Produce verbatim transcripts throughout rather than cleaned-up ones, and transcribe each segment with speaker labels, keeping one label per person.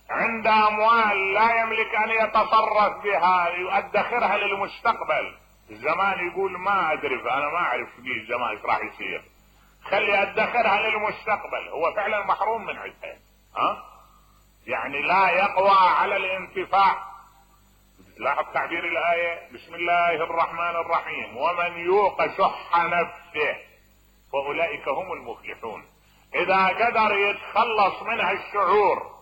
Speaker 1: عند اموال لا يملك ان يتصرف بها يؤدخرها للمستقبل. الزمان يقول ما ادري، انا ما اعرف في الزمان ايش راح يصير، خلي ادخرها للمستقبل. هو فعلا محروم من عدها، ها يعني لا يقوى على الانتفاع. لاحظ تعبير الايه: بسم الله الرحمن الرحيم، ومن يوق شح نفسه فاولئك هم المفلحون. اذا قدر يتخلص منها الشعور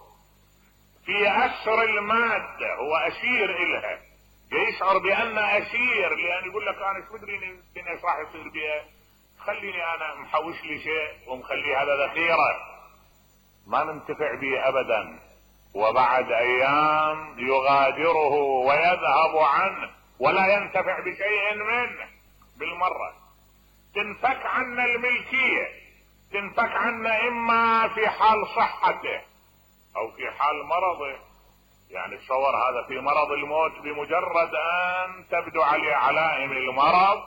Speaker 1: في اسر الماده، هو اسير الها، يشعر بان اسير، لان يقول لك انا ايش مدري ايش راح يصير بها، خليني انا محوش لي شيء ومخلي هذا ذخيره ما ننتفع به ابدا، وبعد ايام يغادره ويذهب عنه ولا ينتفع بشيء منه بالمره. تنفك عنا الملكيه، تنفك عنا اما في حال صحته او في حال مرضه. يعني تصور هذا في مرض الموت، بمجرد ان تبدو عليه علائم المرض،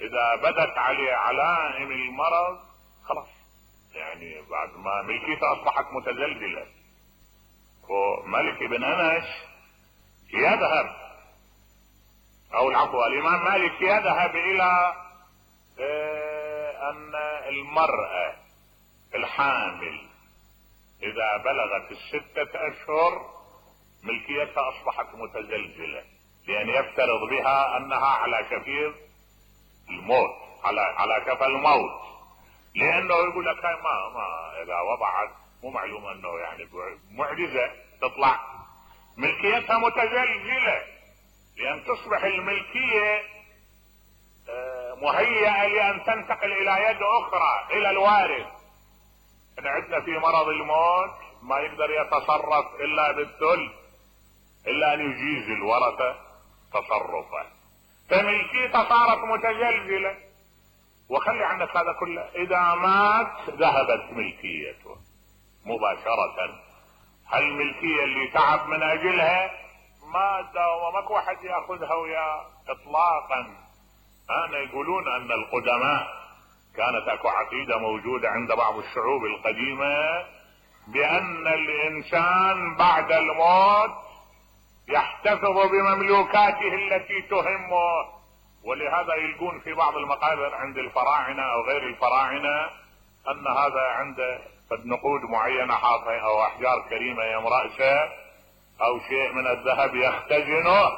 Speaker 1: اذا بدت عليه علائم المرض خلاص، يعني بعد ما ملكيته اصبحت متزلزله. وملك بن انس يذهب، او العفو الامام مالك يذهب الى اه ان المرأة الحامل اذا بلغت الستة اشهر ملكيتها اصبحت متزلزلة، لان يفترض بها انها على شفير الموت، على على شفا الموت، لانه يقول لك ما ما اذا وضعت مو معلوم انه يعني معجزة تطلع ملكيتها متزلزلة، لان تصبح الملكية مهيئة لان تنتقل الى يد اخرى، الى الوارث. احنا عندنا في مرض الموت ما يقدر يتصرف الا بالثلث، الا ان يجيز الورثة تصرفه، فملكيته صارت متزلزلة. وخلي عنك هذا كله، اذا مات ذهبت ملكيته مباشرة. هالملكية اللي تعب من اجلها مادة وماكو واحد ياخذها وياه اطلاقا. انا يقولون ان القدماء كانت اكو عقيدة موجودة عند بعض الشعوب القديمة بان الانسان بعد الموت يحتفظ بمملوكاته التي تهمه، ولهذا يلقون في بعض المقابر عند الفراعنة او غير الفراعنة ان هذا عنده قد نقود معينة حاطها او احجار كريمة يم رأسه او شيء من الذهب يختزنه،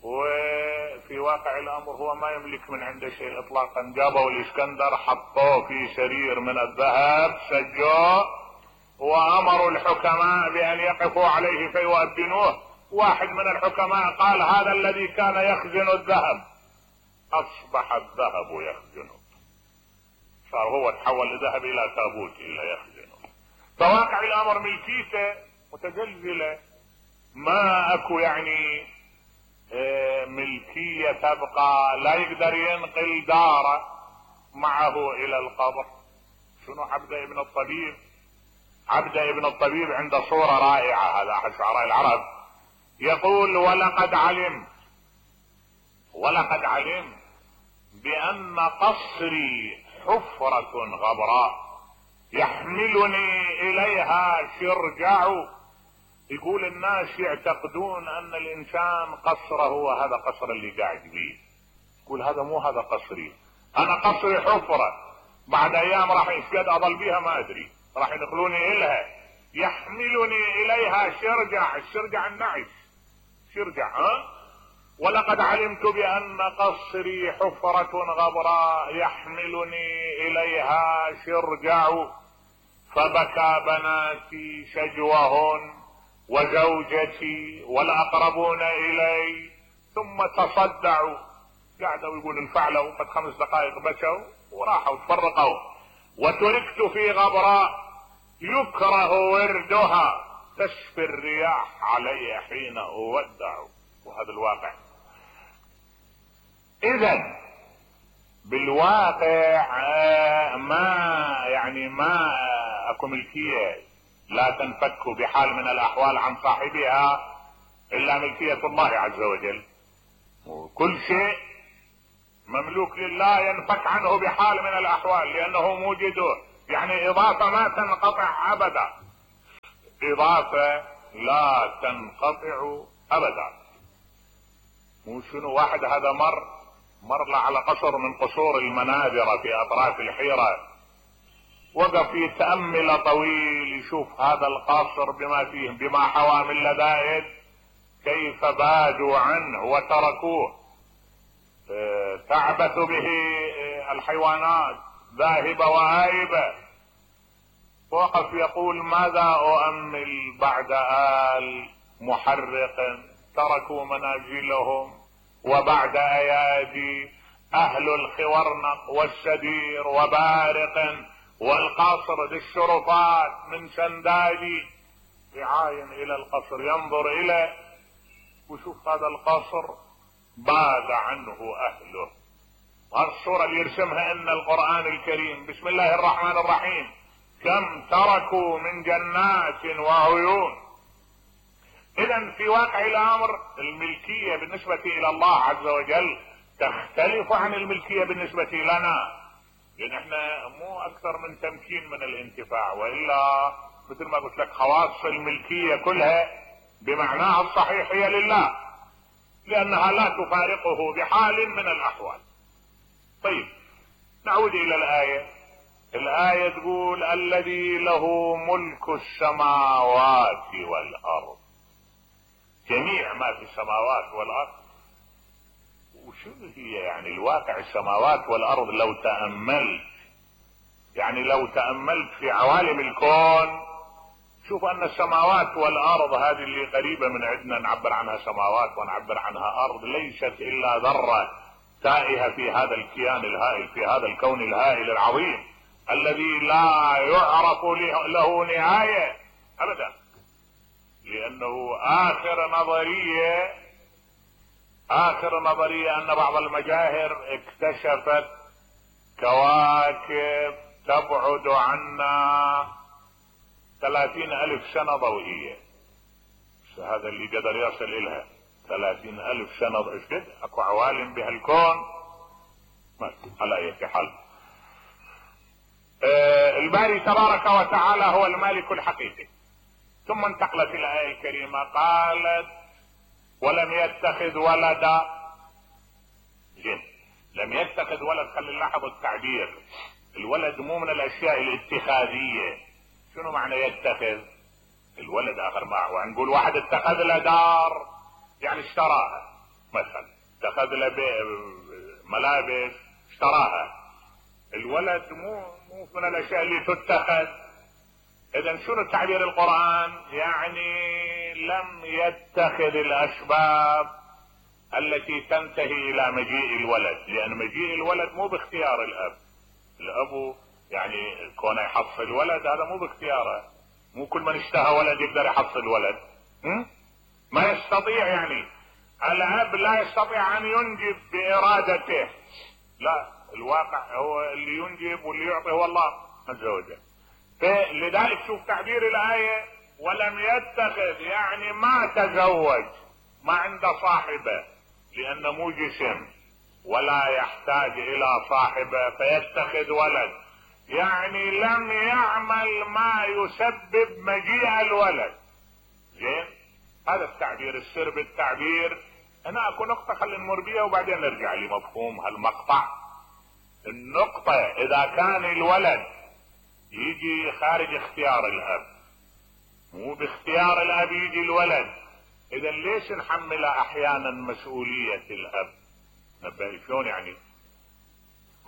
Speaker 1: وفي واقع الامر هو ما يملك من عنده شيء اطلاقا. جابوا الاسكندر حطوه في سرير من الذهب سجوه، وامروا الحكماء بان يقفوا عليه فيؤذنوه. واحد من الحكماء قال هذا الذي كان يخزن الذهب اصبح الذهب يخزنه، صار هو تحول الذهب الى تابوت الى يخزنه. فواقع الامر ملكيته متزلزلة، ما اكو يعني ملكية تبقى، لا يقدر ينقل داره معه الى القبر. شنو عبده ابن الطبيب؟ عبده ابن الطبيب عنده صورة رائعة، هذا احد شعراء العرب، يقول ولقد علمت ولقد علمت بان قصري حفرة غبراء يحملني اليها شرجع. يقول الناس يعتقدون ان الانسان قصره هو هذا قصر اللي قاعد بيه، يقول هذا مو هذا قصري، انا قصري حفرة، بعد ايام راح يشقد اضل بيها ما ادري، راح ينقلوني الها، يحملني اليها شرجع. الشرجع النعش، شرجع ها. ولقد علمت بان قصري حفرة غبراء يحملني اليها شرجع، فبكى بناتي شجوهن وزوجتي والاقربون الي ثم تصدعوا. قعدوا يقول انفعلوا قد خمس دقائق بكوا وراحوا تفرقوا. وتركت في غبراء يكره وردها تشفي الرياح علي حين اودع. وهذا الواقع. اذا بالواقع ما يعني ما اكو ملكية لا تنفك بحال من الاحوال عن صاحبها الا ملكية الله عز وجل، وكل شيء مملوك لله ينفك عنه بحال من الاحوال لانه موجده، يعني اضافة ما تنقطع ابدا. اضافة لا تنقطع ابدا. مو شنو واحد هذا مر مر له على قصر من قصور المنابر في اطراف الحيرة، وقف يتأمل طويل يشوف هذا القصر بما فيه بما حوى من لذائذ كيف بادوا عنه وتركوه، تعبث به الحيوانات ذاهبة وآيبة. وقف يقول ماذا أؤمل بعد آل محرق تركوا منازلهم، وبعد أيادي أهل الخورنق والسدير وبارق والقصر ذي الشرفات من سندادي، يعاين إلى القصر ينظر إليه وشوف هذا القصر باد عنه أهله. والصورة اللي يرسمها إن القرآن الكريم بسم الله الرحمن الرحيم كم تركوا من جنات وعيون. إذن في واقع الأمر الملكية بالنسبة إلى الله عز وجل تختلف عن الملكية بالنسبة لنا، لأن احنا مو أكثر من تمكين من الانتفاع، وإلا مثل ما قلت لك خواص الملكية كلها بمعناها الصحيح هي لله، لأنها لا تفارقه بحال من الأحوال. طيب نعود إلى الآية. الآية تقول الذي له ملك السماوات والأرض، جميع ما في السماوات والأرض. وشنو هي يعني الواقع السماوات والأرض؟ لو تأملت يعني لو تأملت في عوالم الكون شوف أن السماوات والأرض هذه اللي قريبة من عندنا نعبر عنها سماوات ونعبر عنها أرض، ليست إلا ذرة تائهة في هذا الكيان الهائل، في هذا الكون الهائل العظيم الذي لا يعرف له نهاية أبدا. لأنه آخر نظرية آخر نظرية أن بعض المجاهر اكتشفت كواكب تبعد عنا ثلاثين ألف سنة ضوئية. هذا اللي قدر يصل إلها ثلاثين ألف سنة ضوئية. أكو عوالم بهالكون ما على أي حال. آه الباري تبارك وتعالى هو المالك الحقيقي. ثم انتقلت الآية الكريمة قالت ولم يتخذ ولدا. زين، لم يتخذ ولد، خلي نلاحظ التعبير، الولد مو من الاشياء الاتخاذية. شنو معنى يتخذ؟ الولد اخر ما ونقول واحد اتخذ له دار يعني اشتراها، مثلا اتخذ له ملابس اشتراها. الولد مو مو من الاشياء اللي تتخذ. اذا شنو تعبير القرآن؟ يعني لم يتخذ الاسباب التي تنتهي الى مجيء الولد، لان مجيء الولد مو باختيار الاب. الاب يعني كونه يحصل ولد هذا مو باختياره، مو كل من اشتهى ولد يقدر يحصل ولد، م? ما يستطيع. يعني الاب لا يستطيع ان ينجب بارادته، لا، الواقع هو اللي ينجب واللي يعطي هو الله عز وجل. فلذلك شوف تعبير الآية ولم يتخذ، يعني ما تزوج، ما عنده صاحبة، لأنه مو جسم ولا يحتاج إلى صاحبة فيتخذ ولد، يعني لم يعمل ما يسبب مجيء الولد. زين، هذا التعبير. السر بالتعبير. أنا أكو نقطة خلينا نمر بيها وبعدين نرجع لمفهوم هالمقطع. النقطة إذا كان الولد يجي خارج اختيار الاب، مو باختيار الاب يجي الولد، اذا ليش نحمل احيانا مسؤولية الاب؟ نبه شلون يعني؟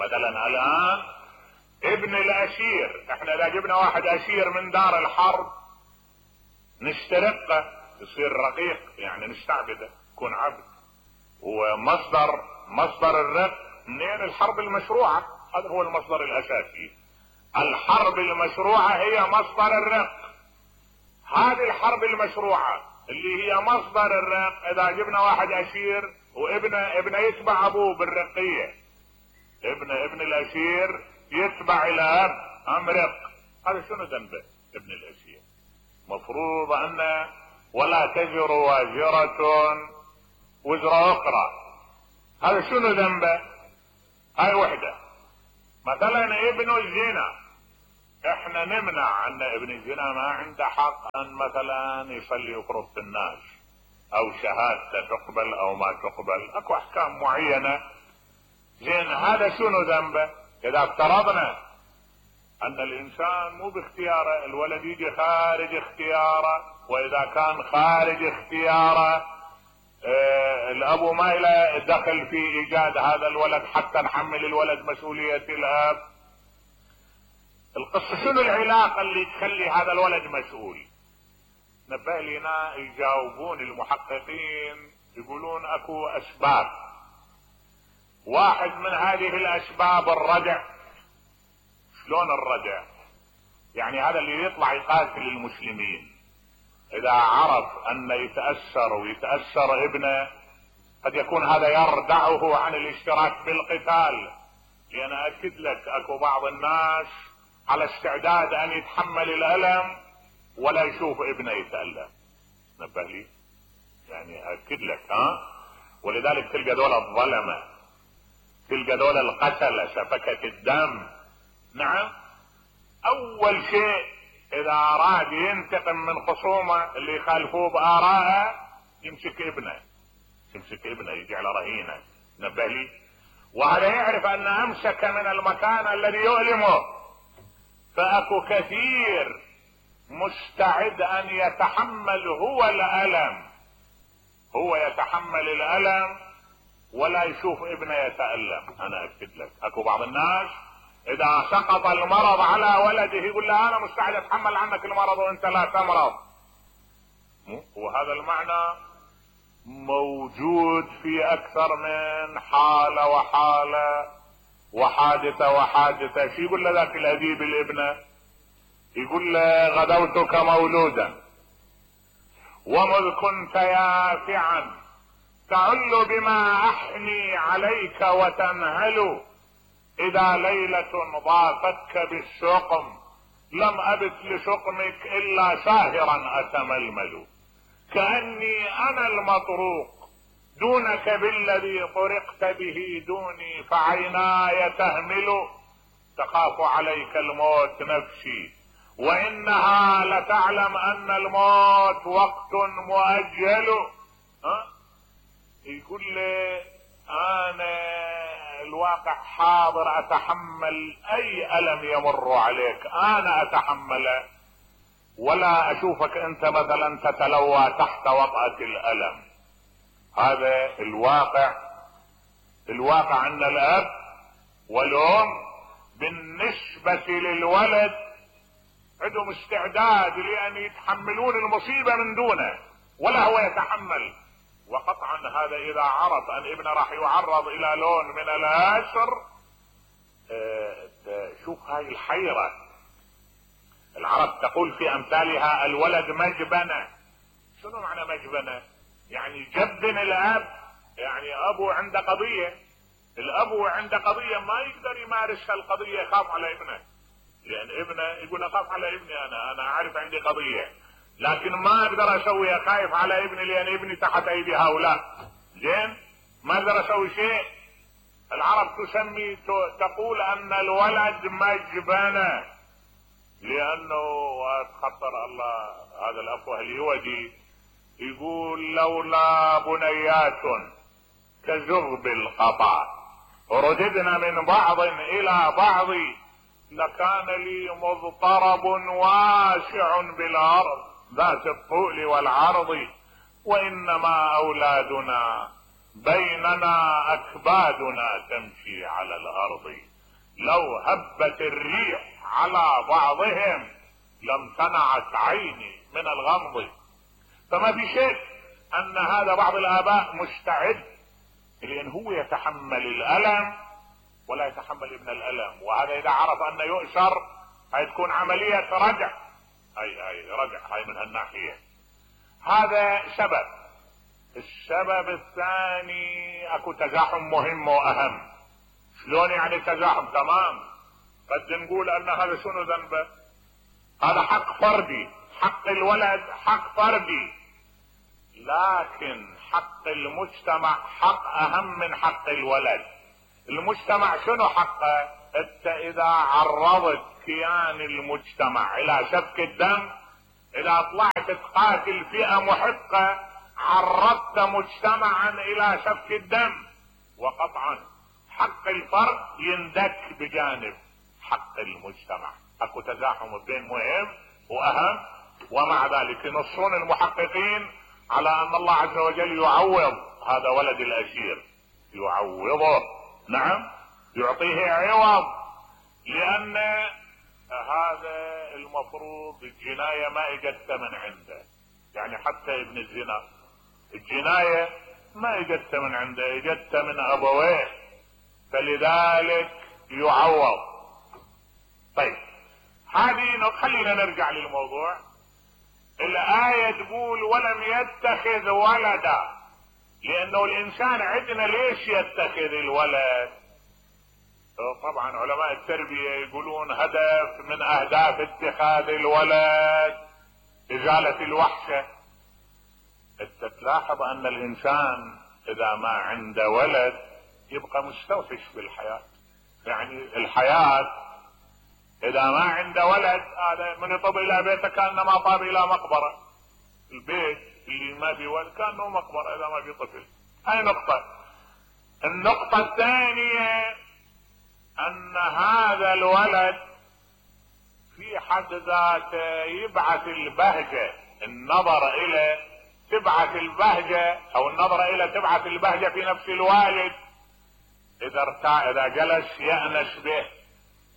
Speaker 1: مثلا الان ابن الاسير، احنا اذا جبنا واحد اسير من دار الحرب نسترقه يصير رقيق، يعني نستعبده يكون عبد. ومصدر مصدر الرق منين؟ الحرب المشروعة، هذا هو المصدر الاساسي. الحرب المشروعة هي مصدر الرق. هذه الحرب المشروعة اللي هي مصدر الرق، اذا جبنا واحد اسير وابنه ابنه يتبع ابوه بالرقية، ابن ابن الاسير يتبع الاب ام رق، هذا شنو ذنبه ابن الاسير؟ مفروض ان ولا تزر وازرة وزر اخرى، هذا شنو ذنبه؟ هاي وحدة. مثلا ابن الزنا احنا نمنع ان ابن الزنا ما عنده حق ان مثلا يصلي ويقرب في الناس، او شهادته تقبل او ما تقبل، اكو احكام معينة. زين هذا شنو ذنبه؟ اذا افترضنا ان الانسان مو باختياره، الولد يجي خارج اختياره، واذا كان خارج اختياره اه الابو ما له دخل في ايجاد هذا الولد حتى نحمل الولد مسؤولية الاب. القصة شنو العلاقة اللي تخلي هذا الولد مسؤول؟ نبه لنا يجاوبون المحققين يقولون اكو اسباب. واحد من هذه الاسباب الردع. شلون الردع؟ يعني هذا اللي يطلع يقاتل المسلمين اذا عرف ان يتأثر ويتأثر ابنه قد يكون هذا يردعه عن الاشتراك بالقتال، لان اكد لك اكو بعض الناس على استعداد ان يتحمل الالم ولا يشوف ابنه يتألم. نبه لي يعني اكد لك ها. ولذلك تلقى دول الظلمة، تلقى دول القتلة سفكة الدم. نعم اول شيء اذا اراد ينتقم من خصومه اللي يخالفوه بآرائه يمسك ابنه، يمسك ابنه يجي على رهينه. نبه لي. وهذا يعرف ان امسك من المكان الذي يؤلمه، فاكو كثير مستعد ان يتحمل هو الالم، هو يتحمل الالم ولا يشوف ابنه يتألم. انا اكد لك اكو بعض الناس اذا سقط المرض على ولده يقول له انا مستعد اتحمل عنك المرض وانت لا تمرض. وهذا المعنى موجود في اكثر من حالة وحالة وحادثة وحادثة. شو يقول له ذاك الاديب الابنة؟ يقول له غدوتك مولودا ومذ كنت يافعا تعل بما احني عليك وتنهل، اذا ليلة ضافتك بالسقم لم ابت لسقمك الا ساهرا اتململ، كأني انا المطروق دونك بالذي طرقت به دوني، فعيناي تهمل تخاف عليك الموت نفسي وانها لتعلم ان الموت وقت مؤجل. ها يقول لي انا الواقع حاضر اتحمل اي الم يمر عليك، انا اتحمله ولا اشوفك انت مثلا تتلوى تحت وطأة الالم. هذا الواقع. الواقع ان الاب والام بالنسبة للولد عندهم استعداد لان يتحملون المصيبة من دونه ولا هو يتحمل. وقطعا هذا اذا عرف ان ابنه راح يعرض الى لون من الاسر. اه شوف هاي الحيرة. العرب تقول في امثالها الولد مجبنة. شنو معنى مجبنة؟ يعني جبن الاب، يعني ابو عنده قضية، الابو عنده قضية ما يقدر يمارس القضية، يخاف على ابنه، لان ابنه يقول اخاف على ابني، انا انا عارف عندي قضية لكن ما اقدر اسويها، خايف على ابني لان ابني تحت ايدي هؤلاء. زين ما اقدر اسوي شيء. العرب تسمي تقول ان الولد مجبنة، لانه خطر الله هذا الافوه اليودي يقول لولا بنيات كزغب القطع رددنا من بعض الى بعض لكان لي مضطرب واسع بالارض ذات الطول والعرض، وانما اولادنا بيننا اكبادنا تمشي على الارض، لو هبت الريح على بعضهم لم تنعت عيني من الغمض. فما في شك ان هذا بعض الاباء مستعد لان هو يتحمل الالم ولا يتحمل ابن الالم، وهذا اذا عرف انه يؤسر هاي تكون عملية رجع، هاي هاي رجع هاي من هالناحية. هذا سبب. السبب الثاني اكو تزاحم مهم واهم. شلون يعني تزاحم؟ تمام قد نقول ان هذا شنو ذنبه؟ هذا حق فردي، حق الولد حق فردي، لكن حق المجتمع حق اهم من حق الولد. المجتمع شنو حقه؟ انت اذا عرضت كيان المجتمع الى سفك الدم، اذا طلعت تقاتل فئة محقة عرضت مجتمعا الى سفك الدم، وقطعا حق الفرد يندك بجانب حق المجتمع. اكو تزاحم بين مهم واهم، ومع ذلك ينصون المحققين على ان الله عز وجل يعوض هذا ولد الاسير، يعوضه، نعم يعطيه عوض، لان هذا المفروض الجناية ما اجت من عنده. يعني حتى ابن الزنا الجناية ما اجت من عنده، اجت من ابويه، فلذلك يعوض. طيب هذه خلينا نرجع للموضوع. الآية تقول ولم يتخذ ولدا، لانه الانسان عندنا ليش يتخذ الولد؟ طبعا علماء التربية يقولون هدف من اهداف اتخاذ الولد ازالة الوحشة. انت تلاحظ ان الانسان اذا ما عنده ولد يبقى مستوحش بالحياة. يعني الحياة اذا ما عنده ولد، هذا من يطب الى بيته كانما طاب الى مقبرة. البيت اللي ما في ولد كانه مقبرة اذا ما في طفل. هاي نقطة. النقطة الثانية ان هذا الولد في حد ذاته يبعث البهجة، النظر الى تبعث البهجة او النظر الى تبعث البهجة في نفس الوالد. اذا ارتاع اذا جلس يأنس به،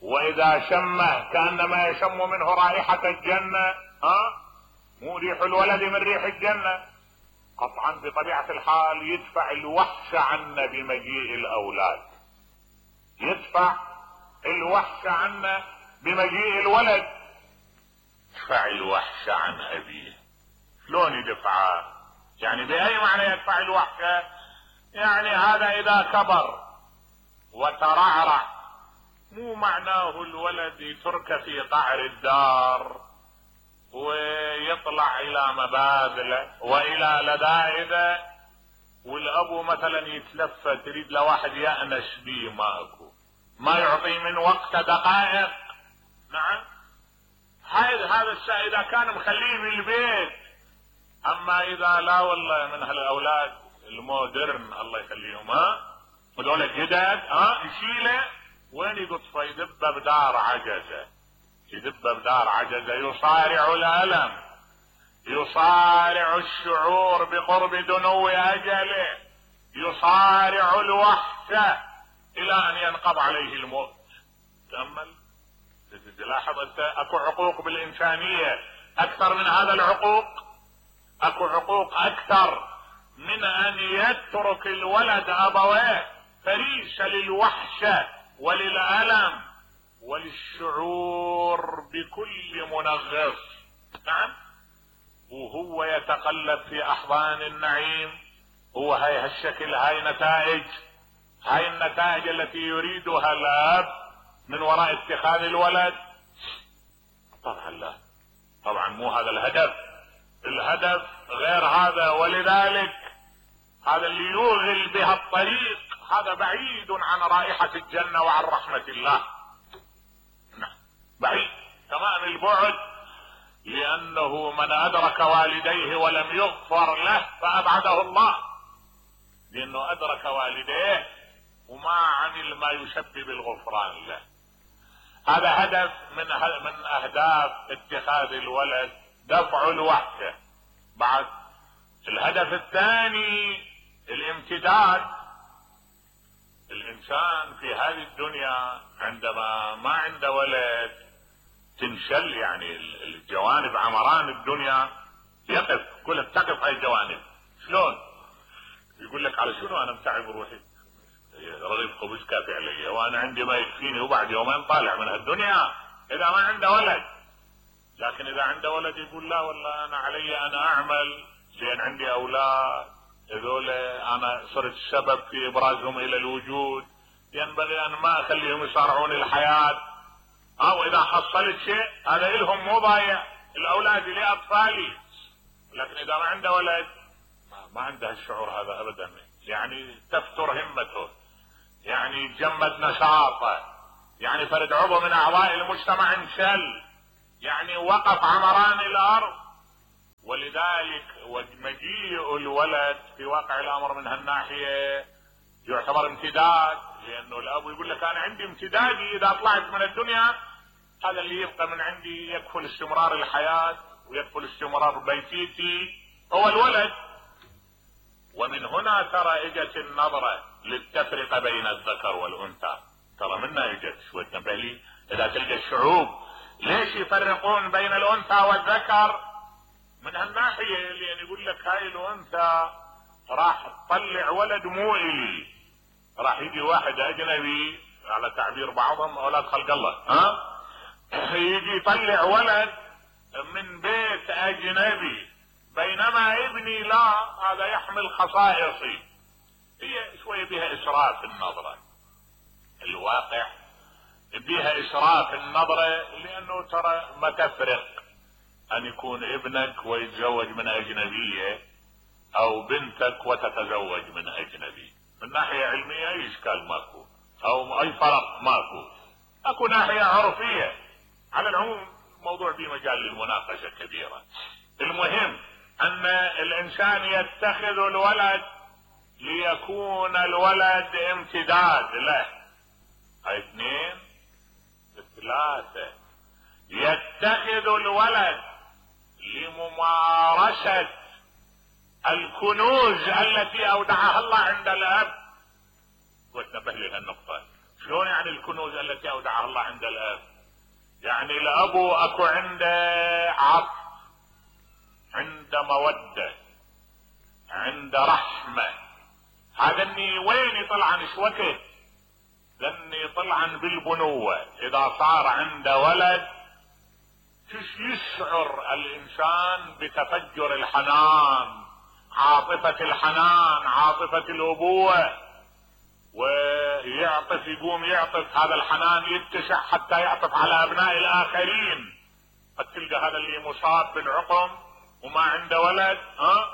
Speaker 1: واذا شمه كأنما يشم منه رائحة الجنة. ها مو ريح الولد من ريح الجنة. قطعا بطبيعة الحال يدفع الوحش عنا بمجيء الاولاد، يدفع الوحش عنا بمجيء الولد. يدفع الوحش عن ابيه. شلون يدفعه؟ يعني باي معنى يدفع الوحش؟ يعني هذا اذا كبر وترعرع مو معناه الولد يترك في قعر الدار ويطلع الى مبادله والى لذائذه، والابو مثلا يتلفت تريد لواحد يأنس بيه، ماكو، ما يعطي من وقت دقائق. نعم هذا هذا الشيء اذا كان مخليه بالبيت. اما اذا لا والله من هالاولاد المودرن الله يخليهم، ها هذول الجدد، ها يشيله وين يقطفه؟ يدبه بدار عجزه، يدبه بدار عجزه، يصارع الالم، يصارع الشعور بقرب دنو اجله، يصارع الوحشة الى ان ينقض عليه الموت. تأمل تلاحظ انت اكو عقوق بالانسانية اكثر من هذا العقوق؟ اكو عقوق اكثر من ان يترك الولد ابويه فريسة للوحشة وللألم وللشعور بكل منغص. نعم وهو يتقلب في احضان النعيم. هو هاي هالشكل، هاي نتائج، هاي النتائج التي يريدها الاب من وراء اتخاذ الولد. طبعا لا، طبعا مو هذا الهدف. الهدف غير هذا، ولذلك هذا اللي يوغل بها الطريق هذا بعيد عن رائحة الجنة وعن رحمة الله. نعم بعيد تمام البعد، لانه من ادرك والديه ولم يغفر له فابعده الله، لانه ادرك والديه وما عمل ما يسبب الغفران له. هذا هدف من من اهداف اتخاذ الولد، دفع الوحشة. بعد الهدف الثاني الامتداد. الانسان في هذه الدنيا عندما ما عنده ولد تنشل، يعني الجوانب عمران الدنيا يقف، كل تقف هاي الجوانب. شلون؟ يقول لك على شنو انا متعب روحي، رغيف خبز كافي علي وانا عندي ما يكفيني وبعد يومين طالع من هالدنيا. اذا ما عنده ولد. لكن اذا عنده ولد يقول لا والله انا علي انا اعمل لان عندي اولاد، هذول انا صرت سبب في ابرازهم الى الوجود، ينبغي ان ما اخليهم يصارعون الحياة. او اذا حصلت شيء هذا الهم مو ضايع، الاولاد لاطفالي. لكن اذا ما عنده ولد ما عنده الشعور هذا ابدا، يعني تفتر همته، يعني يتجمد نشاطه، يعني فرد عضو من اعضاء المجتمع انشل، يعني وقف عمران الارض. ولذلك مجيء الولد في واقع الامر من هالناحية يعتبر امتداد، لانه الاب يقول لك انا عندي امتدادي اذا طلعت من الدنيا، هذا اللي يبقى من عندي يكفل استمرار الحياة ويكفل استمرار بيتيتي هو الولد. ومن هنا ترى اجت النظرة للتفرقة بين الذكر والانثى، ترى منها اجت شوية تنبهلي. اذا تلقى الشعوب ليش يفرقون بين الانثى والذكر؟ من هالناحية، لان يقول لك هاي الانثى راح تطلع ولد مو الي، راح يجي واحد اجنبي على تعبير بعضهم اولاد خلق الله، ها يجي يطلع ولد من بيت اجنبي، بينما ابني لا، هذا يحمل خصائصي. هي شوية بها اسراف النظرة، الواقع بها اسراف النظرة، لانه ترى ما تفرق ان يكون ابنك ويتزوج من اجنبية او بنتك وتتزوج من اجنبي. من ناحية علمية اي اشكال ماكو او اي فرق ماكو، اكو ناحية عرفية. على العموم موضوع في مجال للمناقشة كبيرة. المهم ان الانسان يتخذ الولد ليكون الولد امتداد له. هاي اثنين. ثلاثة، يتخذ الولد لممارسة الكنوز التي اودعها الله عند الاب. وانتبه لي هالنقطة، شلون يعني الكنوز التي اودعها الله عند الاب؟ يعني الابو اكو عنده عطف، عنده مودة، عنده رحمة. هذا اني وين يطلعن شوكه؟ لاني يطلعن بالبنوة. اذا صار عنده ولد يشعر الانسان بتفجر الحنان، عاطفة الحنان، عاطفة الابوة، ويعطف، يقوم يعطف، هذا الحنان يتسع حتى يعطف على ابناء الاخرين. قد تلقى هذا اللي مصاب بالعقم وما عنده ولد، ها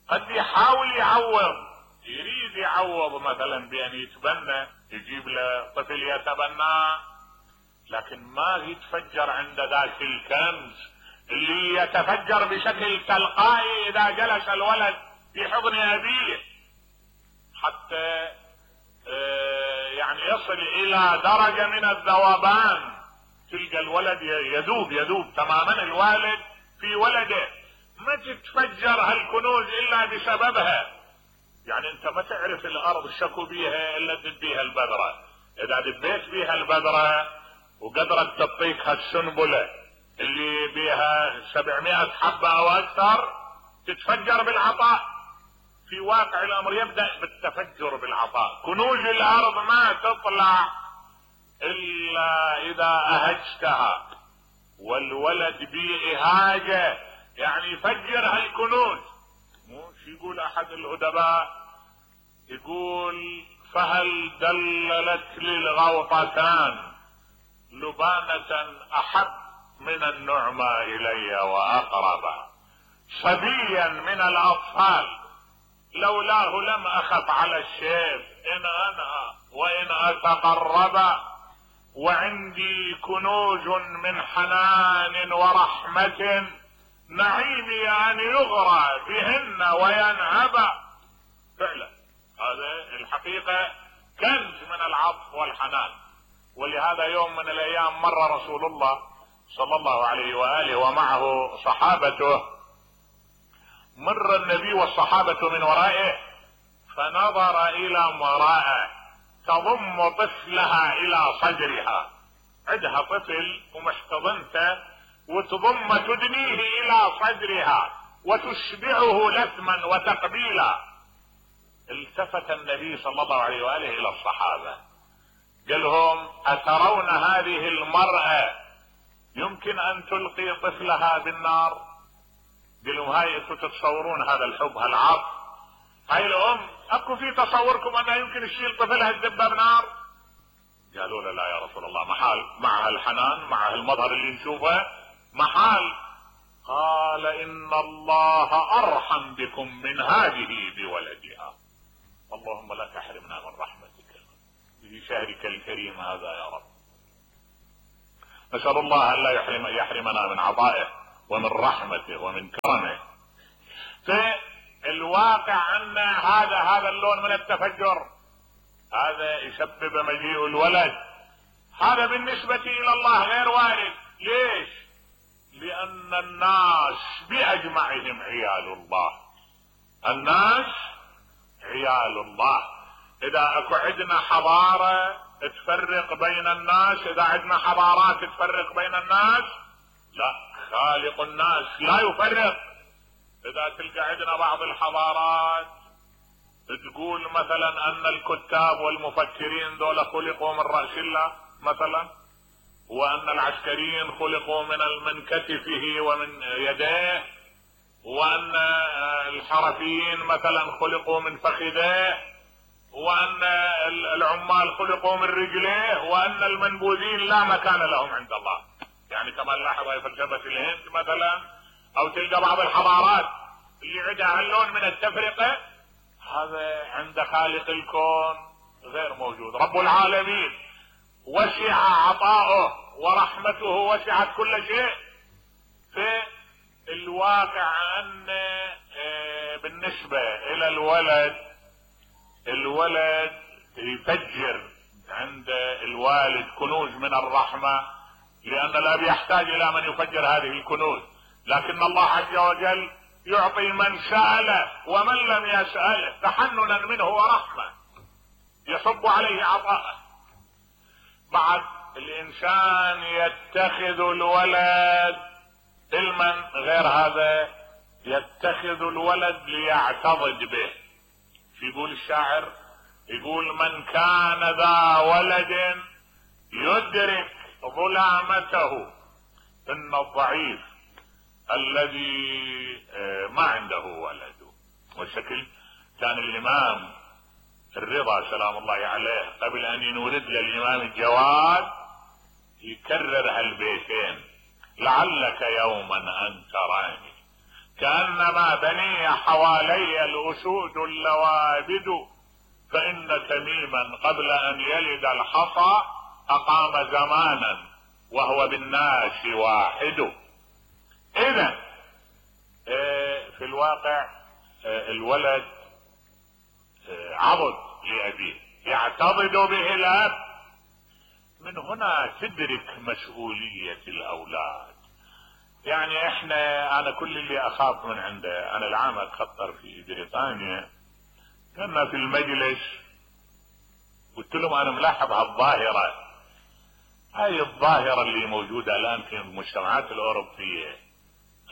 Speaker 1: قد يحاول يعوض، يريد يعوض مثلا بان يتبنى، يجيب له طفل يتبناه، لكن ما يتفجر عند ذاك الكنز اللي يتفجر بشكل تلقائي اذا جلس الولد في حضن ابيه، حتى يعني يصل الى درجة من الذوبان. تلقى الولد يذوب يذوب تماما الوالد في ولده. ما تتفجر هالكنوز الا بسببها. يعني انت ما تعرف الارض شكو بيها الا تدب بيها البذرة. اذا دبيت بيها البذرة وقدرت تعطيك هالسنبلة اللي بيها سبعمائة حبة او اكثر، تتفجر بالعطاء. في واقع الامر يبدأ بالتفجر بالعطاء. كنوز الارض ما تطلع الا اذا اهجتها، والولد بإهاجة يعني يفجر هالكنوز. مو شي يقول احد الادباء، يقول فهل دللت للغوطتان لبانة احب من النعمى الي واقرب، صبيا من الاطفال لولاه لم اخف على الشيب ان انا وان اتقرب، وعندي كنوز من حنان ورحمة نعيمي ان يغرى بهن وينهب. فعلا هذا الحقيقة كنز من العطف والحنان. ولهذا يوم من الايام مر رسول الله صلى الله عليه وآله ومعه صحابته، مر النبي والصحابة من ورائه، فنظر الى امرأة تضم طفلها الى صدرها. عندها طفل ومحتضنته وتضم تدنيه الى صدرها وتشبعه لثما وتقبيلا. التفت النبي صلى الله عليه وآله الى الصحابة قال لهم اترون هذه المرأة يمكن ان تلقي طفلها بالنار؟ قال لهم هاي انتم تتصورون هذا الحب هالعطف؟ هاي الام اكو في تصوركم انها يمكن تشيل طفلها تدبه بنار؟ قالوا له لا يا رسول الله، محال، مع الحنان مع المظهر اللي نشوفه محال. قال ان الله ارحم بكم من هذه بولدها. اللهم لا تحرمنا من رحمتك. في شهرك الكريم هذا يا رب. نسأل الله أن لا يحرم يحرمنا من عطائه ومن رحمته ومن كرمه. في الواقع أن هذا هذا اللون من التفجر هذا يسبب مجيء الولد، هذا بالنسبة إلى الله غير وارد. ليش؟ لأن الناس بأجمعهم عيال الله، الناس عيال الله. إذا أكو عندنا حضارة تفرق بين الناس، إذا عندنا حضارات تفرق بين الناس، لا، خالق الناس لا يفرق. إذا تلقى عندنا بعض الحضارات تقول مثلا أن الكتاب والمفكرين دول خلقوا من رأس الله مثلا، وأن العسكريين خلقوا من من كتفه ومن يديه، وأن الحرفيين مثلا خلقوا من فخذيه، وأن العمال خلقوا من رجليه، وأن المنبوذين لا مكان لهم عند الله. يعني كما نلاحظ في فلسفة الهند مثلا، أو تلقى بعض الحضارات اللي عندها اللون من التفرقة، هذا عند خالق الكون غير موجود. رب العالمين وسع عطاؤه ورحمته وسعت كل شيء. في الواقع أن بالنسبة إلى الولد، الولد يفجر عند الوالد كنوز من الرحمة، لأن الأب يحتاج إلى من يفجر هذه الكنوز، لكن الله عز وجل يعطي من سأله ومن لم يسأله تحننا منه ورحمة، يصب عليه عطاءه. بعد الإنسان يتخذ الولد علما غير هذا، يتخذ الولد ليعتضد به. يقول الشاعر، يقول من كان ذا ولد يدرك ظلامته إن الضعيف الذي ما عنده ولد. والشكل كان الإمام الرضا سلام الله عليه قبل أن ينولد للإمام الجواد يكرر هالبيتين: لعلك يوما أن تراني كأنما بني حوالي الأسود اللوابد، فإن تميما قبل أن يلد الحصى أقام زمانا وهو بالناس واحد. إذن في الواقع الولد عضد لأبيه يعتضد به الأب. من هنا تدرك مسؤولية الأولاد. يعني احنا انا كل اللي اخاف من عنده، انا العام اتخطر في بريطانيا، كنا في المجلس قلت لهم انا ملاحظ هالظاهرة، هاي الظاهرة اللي موجودة الان في المجتمعات الاوروبية،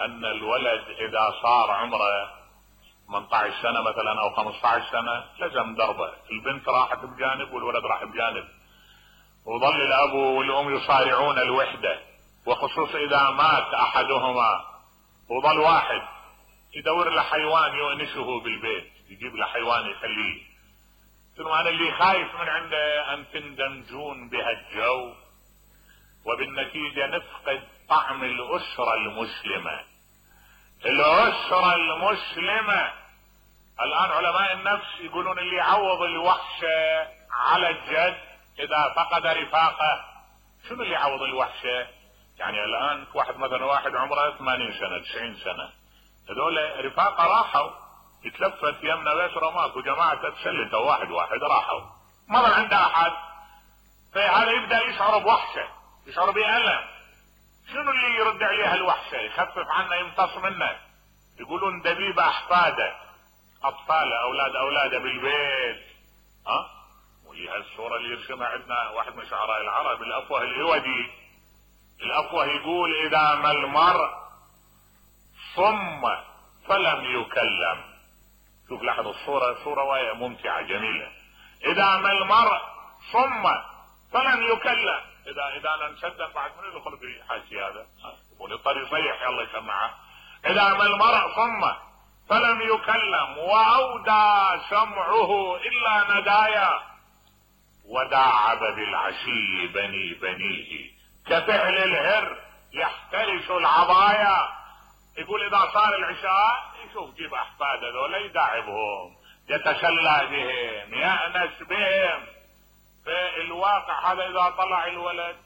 Speaker 1: ان الولد اذا صار عمره ثمانية عشر سنة مثلا او خمسة عشر سنة لزم ضربة، البنت راحت بجانب والولد راح بجانب، وظل الاب والام يصارعون الوحدة، وخصوصا اذا مات احدهما وظل واحد يدور له حيوان يؤنسه بالبيت، يجيب له حيوان يخليه. قلت له انا اللي خايف من عنده ان تندمجون بهالجو وبالنتيجة نفقد طعم الاسرة المسلمة. الاسرة المسلمة الان علماء النفس يقولون اللي يعوض الوحشة على الجد اذا فقد رفاقه. شنو اللي يعوض الوحشة؟ يعني الان واحد مثلا واحد عمره ثمانين سنة تسعين سنة، هذول رفاقه راحوا، يتلفت يمنا ويسرى ماكو، جماعة تسلتوا واحد واحد راحوا، ما ظل عنده احد. فهذا يبدأ يشعر بوحشة، يشعر بألم. شنو اللي يرد عليه الوحشة؟ يخفف عنه، يمتص منه. يقولون دبيب احفاده، اطفاله اولاد اولاده بالبيت. ها وهي هالصورة اللي يرسمها عندنا واحد من شعراء العرب، الافوه العودي. الافوه يقول اذا ما المرء صم فلم يكلم. شوف لاحظ الصورة، صورة ممتعة جميلة. اذا ما المرء صم فلم يكلم، اذا اذا انا نشدد بعد من يدخل في حاشي هذا وللطريق يصيح يلا يسمعها. اذا ما المرء صم فلم يكلم واودى سمعه الا ندايا، وداعب بالعشي بني بنيه كفعل الهر يحترس العضايا. يقول اذا صار العشاء يشوف جيب احفاده ذولا يداعبهم، يتسلى بهم، يأنس بهم. فالواقع هذا اذا طلع الولد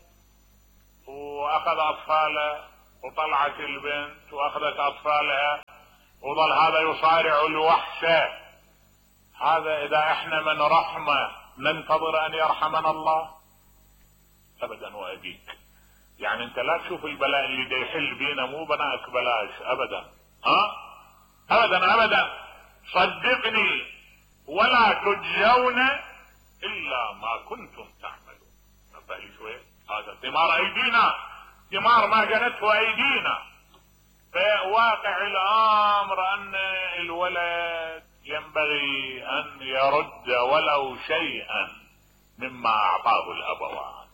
Speaker 1: واخذ اطفاله وطلعت البنت واخذت اطفالها وظل هذا يصارع الوحشة، هذا اذا احنا من رحمة ننتظر ان يرحمنا الله؟ ابدا وابيك. يعني انت لا تشوف البلاء اللي دا يحل بينا مو بناك بلاش ابدا، ها ابدا ابدا، صدقني ولا تجزون الا ما كنتم تعملون. نبهي شوي، هذا ثمار ايدينا، ثمار ما جنته ايدينا. فواقع الامر ان الولد ينبغي ان يرد ولو شيئا مما اعطاه الابوان.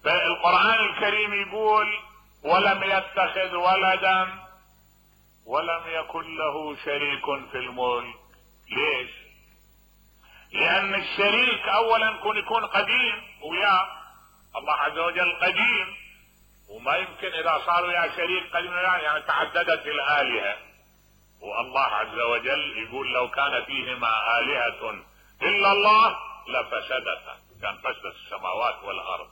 Speaker 1: فالقرآن الكريم يقول ولم يتخذ ولدا ولم يكن له شريك في الملك. ليش؟ لان الشريك اولا يكون يكون قديم وياه، الله عز وجل قديم وما يمكن اذا صار وياه شريك قديم يعني تعددت الالهة، والله عز وجل يقول لو كان فيهما آلهة الا الله لفسدتا، كان فسدت السماوات والارض،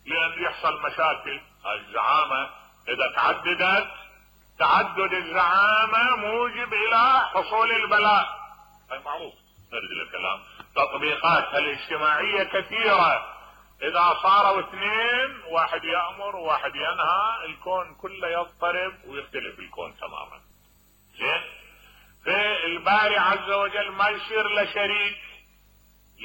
Speaker 1: لان يحصل مشاكل. الزعامة اذا تعددت تعدد الزعامة موجب الى حصول البلاء، هاي معروف. نرد الكلام، تطبيقاتها الاجتماعية كثيرة، اذا صاروا اثنين واحد يأمر وواحد ينهى الكون كله يضطرب ويختلف الكون تماما. زين؟ فالباري عز وجل ما يصير له شريك